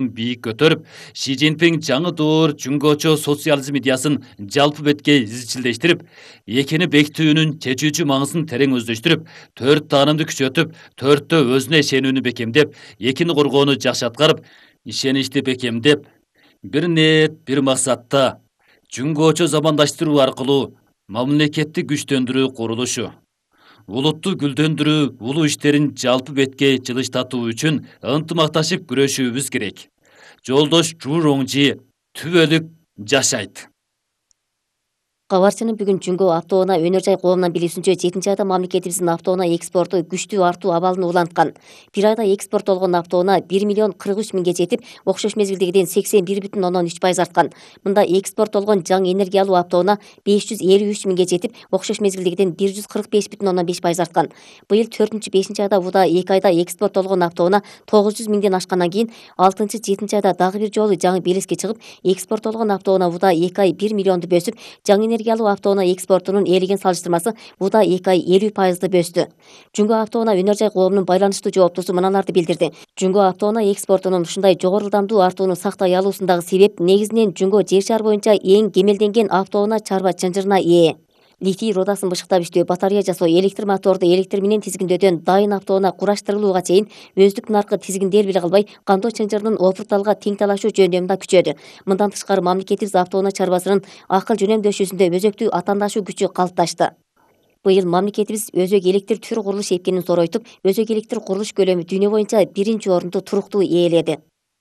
бийик көтөрүп, Ши Цзиньпин жаңы доор жөнгөчө социализм идеясын жалпы бетке изчилдештирип, экени бекитүүнүн чечүүчү маңызын терең өздөштүрүп, 4 таанымды күчөтүп, 4тө өзүнө ишенүүнү бекемдеп, экини коргоону жакшы аткарып, ишеничти бекемдеп, бир ниет, бир максатта жөнгөчө замандаштыруу аркылуу мамлекетти күчтөндүрүү курулушу, улутту гүлдөндүрүү, улуу иштерин жалпы бетке жылыштатуу үчүн ынтымакташып күрөшүүбүз керек. Жолдош Жу Роңжи түбөлүк жашайт. Кабарчынын бүгүн Жүнгө автоунаа өнөр жай коомунан билүүсүнчө 7 айда мамлекетибиздин автоунаа экспорту күчтүү артуу абалын уланткан. Бир айда экспорттолгон автоунаа 1 миллион 43 миңге жетип, окшош мезгилдегиден 81,3% арткан. Мында экспорттолгон жаңы энергиялуу автоунаа 553 миңге жетип, окшош мезгилдегиден 145,5% арткан. Быйыл 4-5 айда буда 2 айда экспорттолгон автоунаа 900 миңден ашкандан кийин 6-7 айда дагы бир жолу жаңы белеске чыгып, экспорттолгон автоунаа буда 2 ай 1 миллионду бөсүп, жаңы энергиялуу автоунаа экспортунун ээлеген салыштырмасы буда 2 ай 50% бөстү. Жүнгө автоунаа өнөр жай коомунун байланыштуу жооптусу мыналарды билдирди. Жүнгө автоунаа экспортунун ушундай жогору ылдамдуу артууну сактай алуусундагы себеп негизинен Жүнгө жер шаар боюнча эң кемелденген автоунаа чарба чынжырына ээ. Литий рудасын бышыктап иштөө, батарея жасоо, электр моторду электр менен тизгиндөөдөн дайын автоунаа кураштырылууга чейин өздүк наркы тизгинделбей калбай, кандоо чынжырынын опурталга тең талашуу жөндөмү да күчөдү. Мындан тышкары мамлекетибиз автоунаа чарбасынын акыл жөнөмдөшүүсүндө өзөктүү атаандашуу күчү калыпташты. Быйыл мамлекетибиз өзөк электр түр курулуш эпкенин зоройтуп, өзөк электр курулуш көлөмү дүйнө боюнча 1-орунду туруктуу ээледи.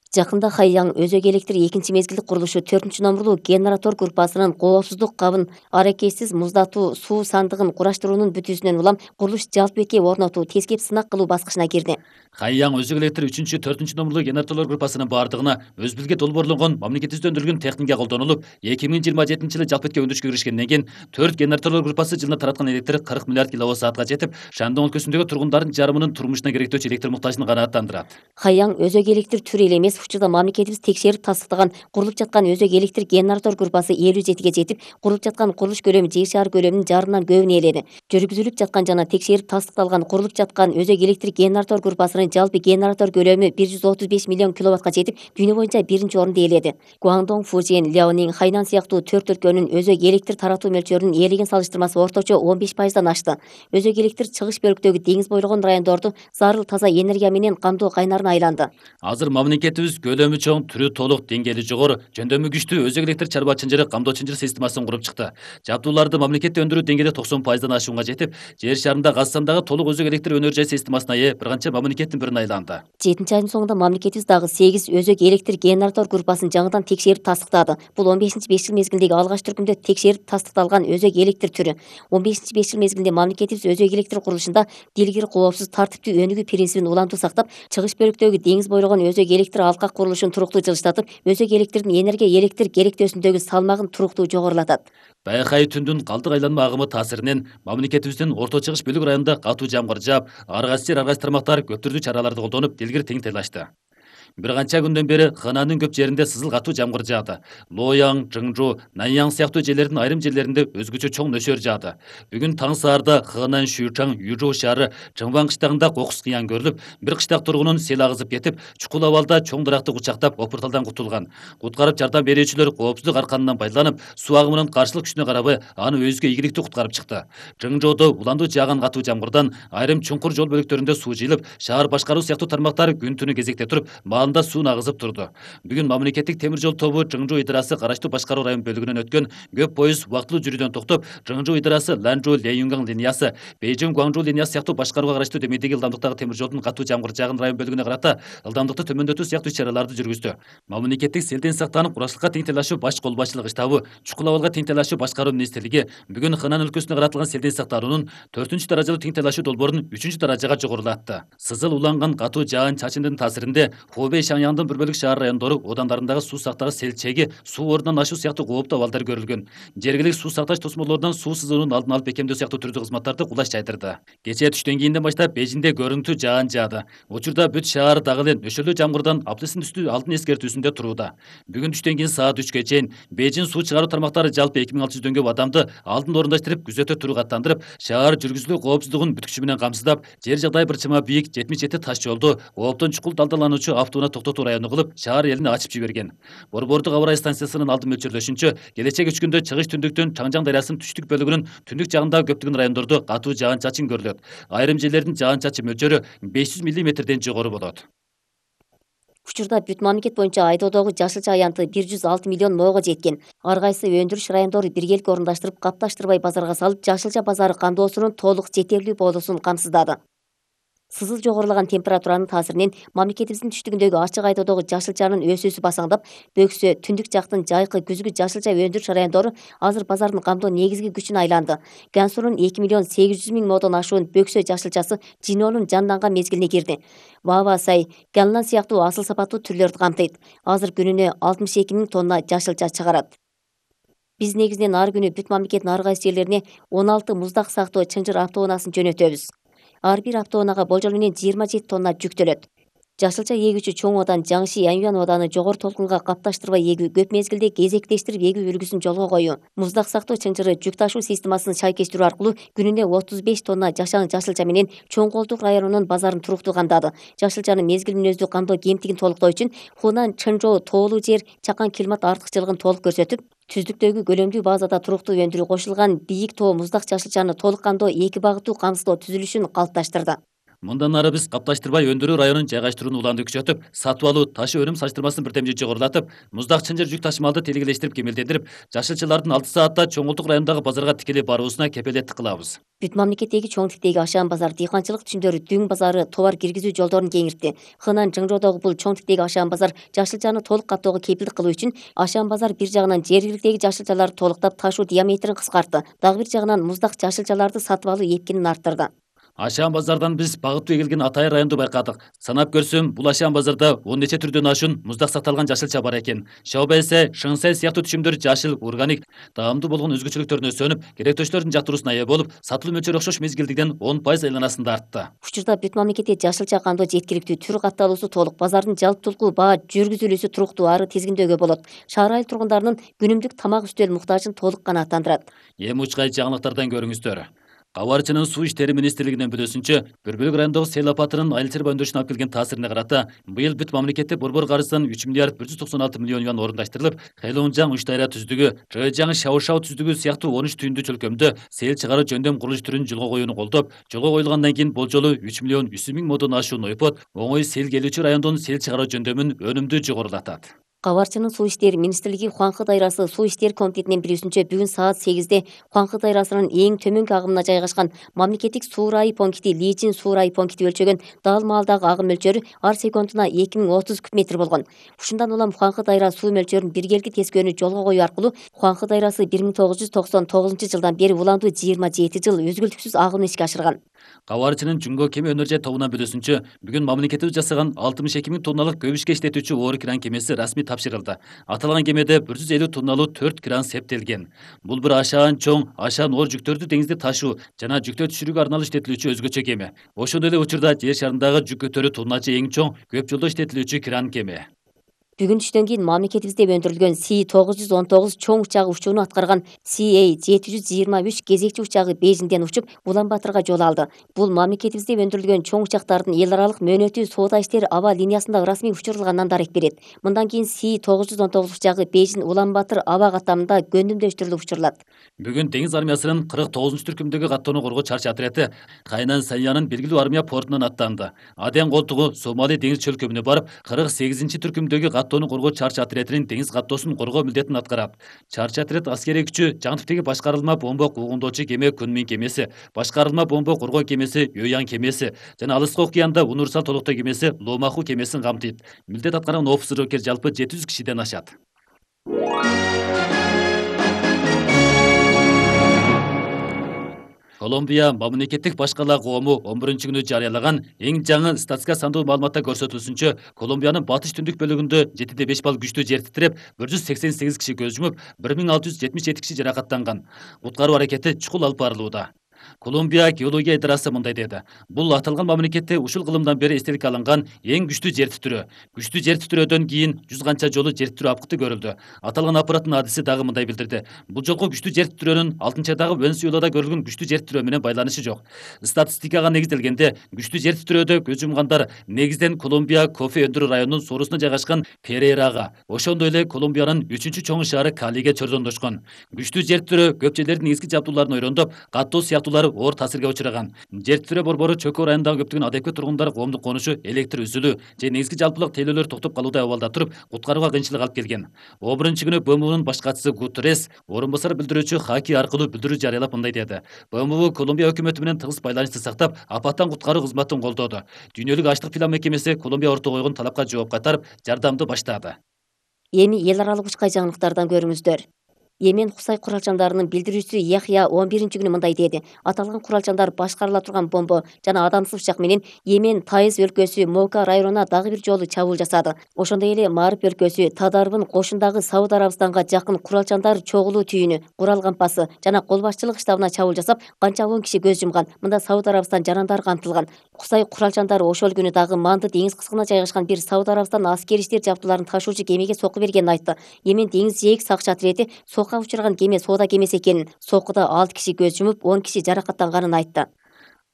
Жакында Хайяң өзөк электр 2 мезгилдик курулушу 4-номурлуу генератор группасынын коопсуздук кабын аракетсиз муздатуу суу сандыгын кураштыруунун бүтүүсүнөн улам курулуш жалпы бетке орнотуу, тескеп сынак кылуу баскычына кирди. Хайяң өзөк электр 3-4-номурлуу генераторлор группасынын баардыгына өзбүлге долбоорлонгон мамлекетибизде өндүрүлгөн техника колдонулуп, 2027-жылы жалпы бетке өндүрүшкө киришкенден кийин 4 генераторлор группасы жылына тараткан электр 40 миллиард киловатт-саатка жетип, Шандың өлкөсүндөгү тургундардын жарымынын турмушуна керектөөчү электр муктажын канааттандырат. Хайяң өзөк электр түрү эле эмес, учурда мамлекетибиз текшерип тастыктаган курулуп жаткан өзөк электр генератор группасы 57ге жетип, курулуп жаткан курулуш көлөмү жер шаар көлөмүнүн жарымынан көбүн ээледи. Жүргүзүлүп жаткан жана текшерип тастыкталган курулуп жаткан өзөк электр генератор группасынын жалпы генератор көлөмү 135 миллион киловаттка жетип, дүйнө боюнча 1-орунду ээледи. Гуандong, Фужин, Ляонин, Хайнан сыяктуу 4 өлкөнүн өзөк электр таратуу мөлчөрүнүн ээлеген салыштырмасы орточо 15%дан ашты. Өзөк электр чыгыш бөлүктөгү деңиз бойлогон райондорду зарыл таза энергия менен кандоо кайнарына айланды. Азыр мамлекетибиз көлөмү чоң, түрү толук, деңгээли жогору, жөндөмү күчтүү өзөк электр чарба чынжыры камдоо чынжыр системасын куруп чыкты. Жабдууларды мамлекетте өндүрүү деңгээли 90%дан ашуунга жетип, жер шарында Казакстандагы толук өзөк электр өнөр жай системасына ээ бир канча мамлекеттин бирине айланды. 7-айдын соңунда мамлекетибиз дагы 8 өзөк электр генератор группасын жаңыдан текшерип тастыктады. Бул 15-5 жыл мезгилдеги алгач түркүмдө текшерип тастыкталган өзөк электр түрү. 15-5 жыл мезгилинде мамлекетибиз өзөк электр курулушунда дилгир, коопсуз, тартиптүү өнүгүү принцибин улантуу сактап, чыгыш бөлүктөгү деңиз бойлогон өзөк электр алкак курулушун туруктуу жылыштатып, өзөк электрдин энергия электр керектөөсүндөгү салмагын туруктуу жогорулатат. Байкай түндүн калдык айланма агымы таасиринен мамлекетибиздин орто чыгыш бөлүк районунда катуу жамгыр жаап, ар кайсы тармактар көп түрдүү чараларды колдонуп, дилгир тең тыйлашты. Бир канча күндөн бери Хэнанын көп жеринде сызыл катуу жамгыр жаады. Лояң, Жыңжу, Наньяң сыяктуу жерлердин айрым жерлеринде өзгөчө чоң нөсөр жаады. Бүгүн таң саарда Хэнан, Шүчаң, Южу шаары, Чыңван кыштагында кокус кыян көрүлүп, бир кыштак тургунун сел агызып кетип, чукул абалда чоң даракты кучактап, опурталдан кутулган. Куткарып жардам берүүчүлөр коопсуздук арканынан пайдаланып, суу агымынын каршылык күчүнө карабай, аны өзгө ийгиликтүү куткарып чыкты. Жыңжоодо уландуу жааган катуу жамгырдан айрым чуңкур жол бөлүктөрүндө суу жыйылып, шаар башкаруу сыяктуу тармактар күн түнү кезекте туруп, маалында сууну агызып турду. Бүгүн мамлекеттик темир жол тобу Жыңжу ыйдарасы караштуу башкаруу район бөлүгүнөн өткөн көп поезд убактылуу жүрүүдөн токтоп, Жыңжу ыйдарасы Ланжу Леюнган линиясы, Бейжиң Гуаңжу линиясы сыяктуу башкарууга караштуу төмөндөгү ылдамдыктагы темир жолдун катуу жамгыр жааган район бөлүгүнө карата ылдамдыкты төмөндөтүү сыяктуу иш-чараларды жүргүздү. Мамлекеттик селден сактанып, курачтыкка тең тайлашуу баш кол башчылыгы штабы, чукул абалга тең тайлашуу башкаруу министрлиги бүгүн Хэнан өлкөсүнө каратылган селден сактануунун 4-даражалуу тең тайлашуу долбоорун 3-даражага жогорулатты. Сызыл уланган катуу жаан чачындын таасиринде Хубей Шаңяңдын бір бөлүк шаар райондору одандарындагы суу сактагыч сел чеги, суу ордунан ашуу сыяктуу кооптуу абалдар көрүлгөн. Жергиликтүү суу сакташ тосмолордон суу сызуунун алдын алып бекемдөө сыяктуу түрдүү кызматтарды кулаш жайдырды. Кечээ түштөн кийинден баштап Бейжиңде көрүнүктүү жаан жаады. Учурда бүт шаар дагы эле нөшөлүү жамгырдан аптысын үстү алдын эскертүүсүндө турууда. Бүгүн түштөн кийин саат 3-кө чейин Бейжиң суу чыгаруу тармактары жалпы 2600 көп адамды алдын орундаштырып, күзөтө турук аттандырып, шаар жүргүзүлүү коопсуздугун бүткүчү менен камсыздап, жер жагдай бир чама бийик 77 таш жолду, кооптон чукул далдалануучу катууна токтотуу району кылып, шаар элине ачып жиберген. Борбордук аба ырайы станциясынын алды мөлчөрлөшүнчө, келечек 3 күндө чыгыш түндүктөн Чаңжаң дарыясынын түштүк бөлүгүнүн түндүк жагындагы көптөгөн райондордо катуу жаан-чачын көрүлөт. Айрым жерлердин жаан-чачын мөлчөрү 500 мм жогору болот. Учурда бүт мамлекет боюнча айдоодогу жашылча аянты 106 миллион моого жеткен. Ар кайсы өндүрүш райондору биргеликке орундаштырып, капташтырбай базарга салып, жашылча базары кандоосунун толук жетерлүү болуусун камсыздады. Сызыл жогорулаган температуранын таасиринен мамлекетибиздин түштүгүндөгү ачык айдоодогу жашылчанын өсүүсү басаңдап, Бөксө, Түндүк жактын жайкы, күзгү жашылча өндүрүш райондору азыр базардын камдоо негизги күчүнө айланды. Гансурун 2 миллион 800 миң модон ашуун Бөксө жашылчасы Жинонун жанданган мезгилине кирди. Баба сай, Ганлан сыяктуу асыл сапаттуу түрлөрдү камтыйт. Азыр күнүнө 62 миң тонна жашылча чыгарат. Биз негизинен ар күнү бүт мамлекеттин ар кайсы жерлерине 16 муздак сактоо чынжыр автоунаасын жөнөтөбүз. Ар бир автоунаага болжол менен 27 тонна жүктөлөт. Жашылча эгүүчү чоң одан Жаңши Янюан оданы жогору толкунга капташтырбай эгүү, көп мезгилде кезектештирип эгүү үлгүсүн жолго коюу, муздак сактоо чынжыры жүк ташуу системасын шайкештирүү аркылуу күнүнө 35 тонна жашаң жашылча менен Чоң Колдук районунун базарын туруктуу камдады. Жашылчаны мезгил мүнөздүү камдоо кемтигин толуктоо үчүн Хунан Чынжоо тоолуу жер чакан климат артыкчылыгын толук көрсөтүп, түздүктөгү көлөмдүү базада туруктуу өндүрүү кошулган бийик тоо муздак жашылчаны толук камдоо эки багыттуу камсыздоо түзүлүшүн калыпташтырды. Мындан ары биз капташтырбай өндүрүү районун жайгаштырууну уланды күчөтүп, сатып алуу, ташы өнүм салыштырмасын бирдемде жогорулатып, муздак чынжыр жүк ташымалды телегелештирип кемелдендирип, жашылчалардын 6 саатта Чоң Колдук районундагы базарга тикелей баруусуна кепелеттик кылабыз. Бүт мамлекеттеги чоң тиктеги ашаан базар, дыйканчылык түшүмдөрү, Дүң базары товар киргизүү жолдорун кеңиртти. Хынан Жыңжоодогу бул чоң тиктеги ашаан базар жашылчаны толук каттоого кепилдик кылуу үчүн ашаан базар бир жагынан жергиликтеги жашылчаларды толуктап, ташуу диаметрин кыскартты. Дагы бир жагынан муздак жашылчаларды сатып алуу эркинин арттырды. Ашаан базардан биз багыттуу эгилген Атайыр районду байкадык. Санап көрсөм, бул ашаан базарда 10 нече түрдөн ашуун муздак сакталган жашылча бар экен. Шаобэсе, Шыңсай сыяктуу түшүмдөр жашыл, органик, таамдуу болгон өзгөчөлүктөрүнө сөнүп, керектөөчүлөрдүн жактыруусуна ээ болуп, сатылуу мөлчөрү окшош мезгилдигден 10% айланасында артты. Учурда бүт мамлекетте жашылча кандоо жеткиликтүү, түр катталуусу толук, базардын жалптулку баа жүргүзүлүүсү туруктуу, ары тизгиндөөгө болот. Шаар айыл тургундарынын күнүмдүк тамак үстөл муктажын толук канааттандырат. Эми учкай жаңылыктардан көрүңүздөр. Кабарчынын суу иштери министрлигинин билүүсүнчө, бір бөлүк райондогу сел апатынын айыл чарба өндүрүшүнө алып келген таасирине карата, быйыл бүт мамлекетте борбор каржыдан 3 миллиард 196 миллион юан орундаштырылып, Хэлоунжаң Үч Дайра түздүгү, Жойжаң Шаушау түздүгү сыяктуу 13 түйүндүү чөлкөмдө сел чыгаруу жөндөм курулуш түрүн жолго коюуну колдоп, жолго коюлгандан кийин болжолу 3 миллион 100 миң модон ашуун ойпот оңой сел келүүчү райондон сел чыгаруу жөндөмүн өнүмдүү жогорулатат. Кабарчынын суу иштери министрлиги Хуаңкы дайрасы суу иштер комитетинин билүүсүнчө, бүгүн саат 8-де Хуаңкы дайрасынын эң төмөнкү агымына жайгашкан мамлекеттик суу райы пункти Лижин суу райы пункти өлчөгөн дал маалдагы агым мөлчөрү ар секундуна 2030 куб метр болгон. Ушундан улам Хуаңкы дайра суу мөлчөрүн биргеликти тескөөнү жолго коюу аркылуу Хуаңкы дайрасы 1999 жылдан бери уламдуу 27 жыл үзгүлтүксүз агымын ишке ашырган. Кабарчынын Жумго кеме өнөр жай тобунан билүүсүнчө, бүгүн мамлекетибиз жасаган 62 миң тонналык көп ишке иштетүүчү оор кран кемеси расмий тапшырылды. Аталган кемеде 150 тонналуу 4 кран септелген. Бул бир ашаан чоң, ашаан оор жүктөрдү деңизде ташуу жана жүктөө түшүрүүгө арналып иштетилүүчү өзгөчө кеме. Ошондой эле учурда жер шарындагы жүк көтөрүү тоннажы эң чоң, көп жолдо иштетилүүчү кран кеме. Бүгүн түштөн кийин мамлекетибизде өндүрүлгөн Си-919 чоң учагы учууну аткарган CA-723 кезекчи учагы Бейжиңден учуп, Улан-Батырга жол алды. Бул мамлекетибизде өндүрүлгөн чоң учактардын эл аралык мөөнөтүү соода иштери аба линиясында расмий учурулганынан дарек берет. Мындан кийин Си-919 учагы Бейжиң Улан-Батыр аба каттамында көндүмдөштүрүлүп учурулат. Бүгүн деңиз армиясынын 49-түркүмдөгү каттоону коргоо чарчы отряды Кайнан Саньянын белгилүү армия портунан аттанды. Аден колтугу Сомали деңиз чөлкөмүнө барып, 48-түркүмдөгү каттоону коргоо чарчы отрядынын деңиз каттоосун коргоо милдетин аткарат. Чарчы отряд аскерий күчү жаң типтеги башкарылма бомба куугундоочу кеме Күнмин кемеси, башкарылма бомба коргоо кемеси Ёяң кемеси жана Алыскы океанда универсал толуктоо кемеси Ломаху кемесин камтыйт. Милдет аткарган офицер жалпы 700 кишиден ашат. Колумбия мамлекеттик башкаруу коому 11-күнү жарыялаган эң жаңы статистика сандуу маалыматта көрсөтүлүшүнчө, Колумбиянын батыш түндүк бөлүгүндө 7,5 балл күчтүү жер титиреп, 188 киши көз жумуп, 1677 киши жаракаттанган. Куткаруу аракети чукул алып барылууда. Колумбия геология идарасы мындай деди. Бул аталган мамлекетте ушул кылымдан бери эстеликке алынган эң күчтүү жер титирөө. Күчтүү жер титирөөдөн кийин 100 канча жолу жер титирөө апкыты көрүлдү. Аталган аппараттын адиси дагы мындай билдирди. Бул жолку күчтүү жер титирөөнүн 6-дагы Венесуэлада көрүлгөн күчтүү жер титирөө менен байланышы жок. Статистикага негизделгенде күчтүү жер титирөөдө көз жумгандар негизден Колумбия кофе өндүрүү районунун соорусунда жайгашкан Перейрага, ошондой эле Колумбиянын 3-чоң шаары Калиге чордондошкон. Күчтүү жер титирөө көп жерлердин негизги жабдууларын ойрондоп, каттоо сыяктуулар оор таасирге учураган. Жер титирөө борбору Чөкө районундагы көптөгөн адепкет тургундар коомдук конушу, электр үзүлүү же негизги жалпылык тейлөөлөр токтоп калуудай абалда туруп, куткарууга кыйынчылык алып келген. 11-күнү БМУнун баш катчысы Гутеррес орун басар билдирүүчү Хаки аркылуу билдирүү жарыялап мындай деди. БМУ Колумбия өкмөтү менен тыгыз байланышты сактап, апаттан куткаруу кызматын колдоду. Дүйнөлүк ачлык план мекемеси Колумбия ортого койгон талапка жооп кайтарып, жардамды баштады. Эми эл аралык учкай жаңылыктардан көрүңүздөр. Йемен Хусай куралчандарынын билдирүүчүсү Яхья 11-күнү мындай деди. Аталган куралчандар башкарыла турган бомба жана адамсыз учак менен Йемен Таиз өлкөсү Мока районуна дагы бир жолу чабуул жасады. Ошондой эле Мариб өлкөсү Тадарбын кошундагы Сауд Арабистанга жакын куралчандар чогулуу түйүнү, Курал кампасы жана кол башчылык штабына чабуул жасап, канча 10 киши көз жумган. Мында Сауд Арабистан жарандары камтылган. Хусай куралчандары ошол күнү дагы Манды деңиз кыскына жайгашкан бир Сауд Арабистан аскери иштер жабдууларын ташуучу кемеге сокку бергенин айтты. Йемен деңиз жээк сакчы отряди сокко учураган кеме соода кемеси экенин, соккуда 6 киши көз жумуп, 10 киши жаракаттанганын айтты.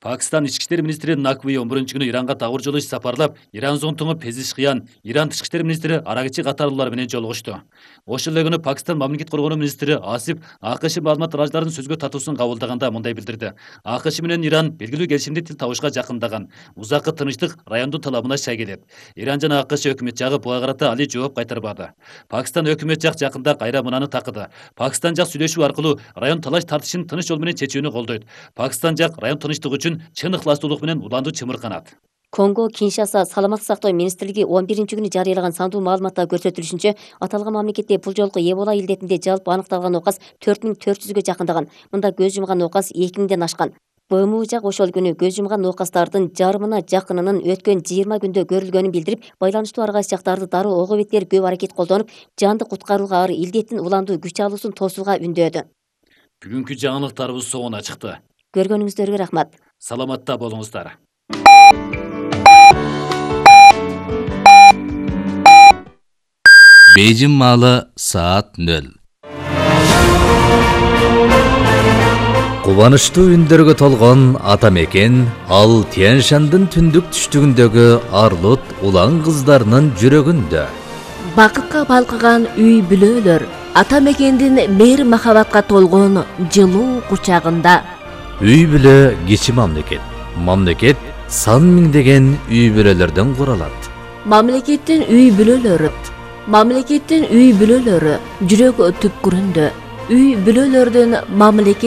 Пакистан ички иштер министри Накви 11-күнү Иранга тагыр жолу иш сапарлап, Иран зонтуңу Пезишкиян, Иран тышкы иштер министри Арагичи катарлуулар менен жолугушту. Ошол эле күнү Пакистан мамлекет коргонуу министри Асиф АКШ маалымат тараажыларынын сөзгө татуусун кабылдаганда мындай билдирди. АКШ менен Иран белгилүү келишимди тил табышка жакындаган. Узаккы тынычтык райондун талабына шай келет. Иран жана АКШ өкмөт жагы буга карата али жооп кайтарбады. Пакистан өкмөт жак жакында кайра мынаны такыды. Пакистан жак сүйлөшүү аркылуу район талаш тартышын тыныч жол менен чечүүнү колдойт. Пакистан жак район тынчтыгы үчүн чын ыхластуулук менен уланды чымырканат. Конго Киншаса саламаттык сактоо министрлиги 11-күнү жарыялаган сандуу маалыматта көрсөтүлүшүнчө, аталган мамлекетте бул жолку Эбола илдетинде жалпы аныкталган ооказ 4400гө жакындаган. Мында көз жумган ооказ 2000ден ашкан. БМУ жак ошол күнү көз жумган ооказдардын жарымына жакынынын өткөн 20 күндө көрүлгөнүн билдирип, байланыштуу ар кайсы жактарды дароо ого беттер көп аракет колдонуп, жанды куткарууга ары илдеттин уландуу күч алуусун тосууга үндөдү. Бүгүнкү жаңылыктарыбыз соңуна чыкты. Көргөнүңүздөргө рахмат. Саламатта болуңуздар. Бейжин маалы саат 0. Кубанычтуу үндөргө толгон ата мекен ал Тянь-Шандын түндүк түштүгүндөгү арлут улан кыздарынын жүрөгүндө. Бакытка балкыган үй бүлөлөр ата мекендин мейир махабатка толгон жылуу кучагында. Үй бүлө кичи мамлекет. Мамлекет сан миңдеген үй бүлөлөрдөн куралат. Мамлекеттин үй бүлөлөрү. Мамлекеттин үй бүлөлөрү жүрөк түпкүрүндө. Үй бүлөлөрдүн мамлекет